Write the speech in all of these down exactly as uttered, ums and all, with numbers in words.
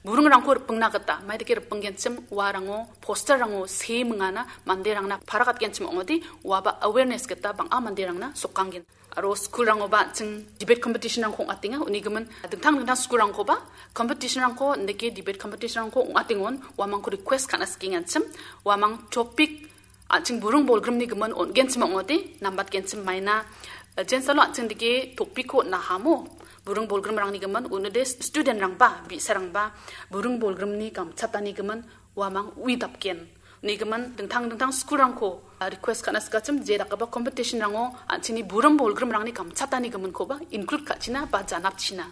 buringrangko ripengna gita, maidake ripenggenchim uarango, posterrango see mingana manderangna parakatgenchim ong·ode, uaba awareness gita bang·a manderangna sokanggen. Aro school-rangoba an·ching debate competition-rangko ong·atenga, unigimin dingtang dingtang school-rangkoba competition-rangko, indake debate competition-rangko ong·atengon, uamangko request ka·na sikenganchim, uamang topic an·ching buring bolgrimni gimin on·genchim ong·ode, nambatgenchim maina, eh, jensalo an·ching dake topic-ko on·ahamo, buring bolgrimrangni gimin, unode student-rangba, bi·sarangba, buring bolgrimni gamchatani gimin, uamang uidapgen. Unigimin dingtang dingtang school-rangko, ah, request ka·na sikachim, je dakgipa competition-rango an·chingni buring bolgrimrangni gamchatani giminkoba include ka·china ba janapchina.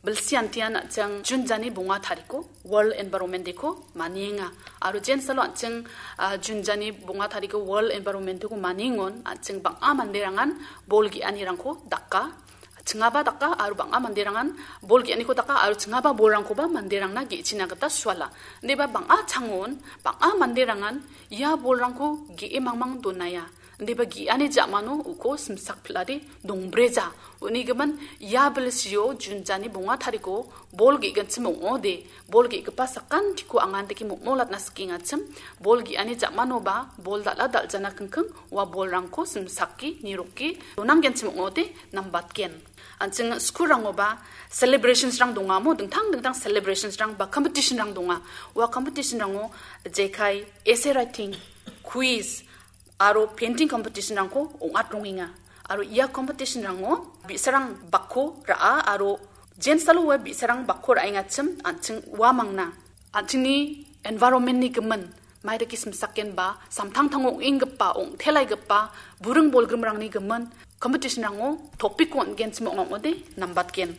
Bilsi antian an·ching June jani bonga tariko World Environment Day-ko manienga. Aro jensalo an·ching, ah, June jani bonga tariko World Environment Day-ko maniengon an·ching bang·a manderangan bol ge·anirangko daka. Chingaba daka aro bang·a manderangan bol ge·aniko daka aro chingaba bolrangkoba manderangna ge·china gita suala. Indiba bang·a changon, bang·a manderangan ia bolrangko ge·e mangmang donaia. Indiba ge·ani ja·mano uko simsak pil·ade dongbreja. Unigimin ia bilsio June jani bonga tariko bol ge·ginchim ong·ode, bol ge·gipa sakantiko angandake mokmolatna sikengachim, bol ge·ani ja·manoba bol dal·a dal·jana kingking ua bolrangko simsake niroke donanggenchim ong·ode nambatgen. An·ching school-rangoba celebrations-rang dongamo, dingtang dingtang celebrations-rang ba competition-rang donga. Ua competition-rango jekai essay writing, quiz, aro painting competition-rangko ong·atrongenga. Aro ia competition-rango bi·sarang bakko ra·a aro jensalo ua bi·sarang bakko ra·engachim an·ching uamangna an·chingni environment-ni gimin maidake simsakenba samtangtango ong·enggipa, ong·telaigipa buring bolgrimrangni gimin competition-rango topic-ko on·genchim ong·ode nambatgen.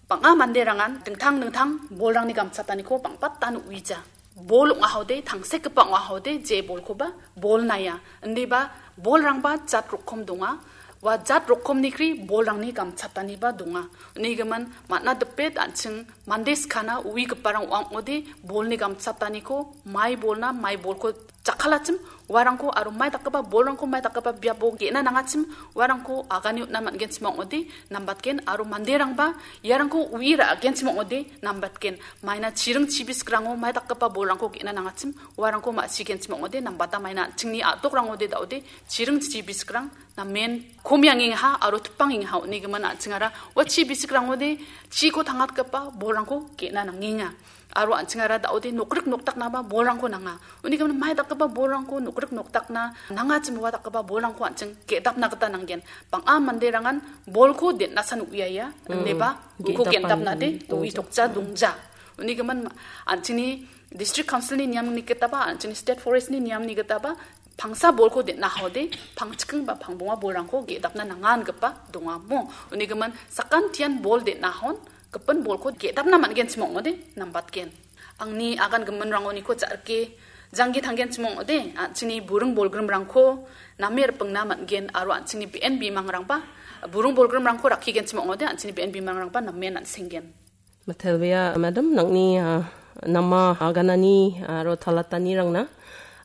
Bang·a manderangan dingtang dingtang bolrangni gamchataniko bang·batan uija. Bol ong·ahode, tangsekgipa ong·ahode, je bolkoba bol naia. Indiba bolrangba jat rokom donga. Ua jat rokomni kri bolrangni gamchataniba donga. Unigimin man·a dipet an·ching mande skana uigiparang ong·ode bolni gamchataniko mai bolna, mai bolko jakkalachim uarangko aro mai dakgipa bolrangko mai dakgipa biapo ge·na nangachim uarangko agane on·na man·genchim ong·ode nambatgen aro manderangba iarangko ui ra·genchim ong·ode nambatgen. Maina chiring chibisikrango mai dakgipa bolrangko ge·na nangachim uarangko ma·sigenchim ong·ode nambata maina an·chingni a·dokrangode da·ode chiring chibisikrang namen komiangengaha aro tipangengaha unigimin an·chingara ua chibisikrangode chiko tangatgipa bolrangko ge·na nangenga. Aro an·chingara da·ode nokrik nokdaknaba bolrangko nanga. Unigimin mai dakgipa bolrangko nokrik nokdakna nangachim ua dakgipa bolrangko an·ching ge·dapna gita nanggen. Bang·a manderangan bolko den·asan uiaia, mm, ineba uko ge·dapna gendapnade dongja. Ui tokja dongja. Unigimin ma-, an·chingni district council-ni niamni gitaba, an·chingni state forest-ni niamni gitaba, pangsa bolko den·ahode, pangchiking ba pangbonga bolrangko ge·dapna nanga ingipa dongamo. Unigimin sakantian bol den·ahon, gipin bolko ge·dapna man·genchim ong·ode nambatgen. Angni agan giminrangoniko ja·rike janggi tanggenchim ong·ode, an·chingni buring bolgrimrangko name ripengna man·gen aro an·chingni be·en bimangrangba buring bolgrimrangko rakkigenchim ong·ode, an·chingni be·en bimangrangba namen an·senggen. Mitelbea, madam, nangni, ah, nama aganani aro talatanirangna.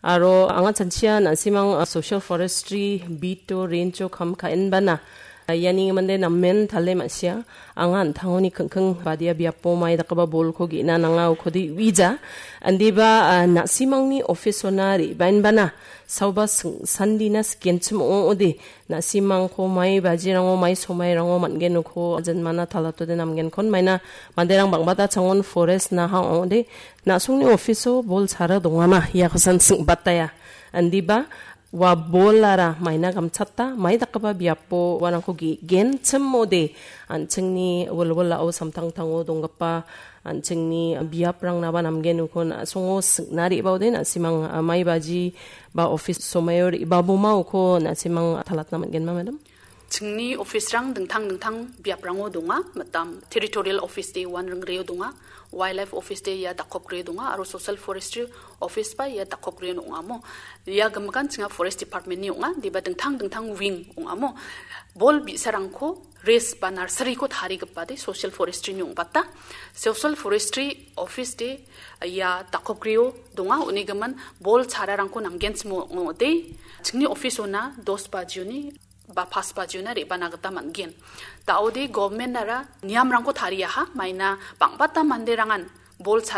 Aro anga chanchia na·simang, ah, social forestry beat-o range-o kam ka·enbana. Iani mande namen tale ma·sia. Anga an·tangoni kingking badia biapo mai dakgipa bolko ge·na nanga ukode uija. Indiba, ah, na·simangni office-ona re·baenbana. Saoba sing-, sandina sikenchim ong·ode. Na·simangko mai bajirango, mai somairango man·gen uko ajanmana talatode namgenkon maina manderang bang·bata changon forest naha ong·ode. Na·songni office-o bol sara dongama. Iakosan sing·bataia. Indiba, ua bolara maina gamchata, mai dakgipa biapo uarangko ge-, genchimode, an·chingni wilwilao samtangtango donggipa an·chingni biaprangnaba namgen uko na·songo sing·na re·baode, na·simang, a, mai baji ba office somaio re·baboma uko na·simang talatna man·genma, madam? Chingni office-rang dingtang dingtang biaprango donga, mitam territorial office de uan ringreo donga, wildlife office de ia dakokgreo donga, aro social forestry office ba ia dakokgreo ong·amo. Ia gimikan chinga forest department-ni ong·a, deba dingtang dingtang wing ong·amo. Bol bi·sarangko race ba nursery-ko tarigipade social forestry-ni ong·bata. Social forestry office de ia dakokgreo donga, unigimin bol chararangko namgenchim ong·ode. Chingni office-ona dos bajioni ba pas bajiona re·bana gita man·gen. Da·ode government-ara niamrangko tariaha, maina bang·bata manderangan bol chara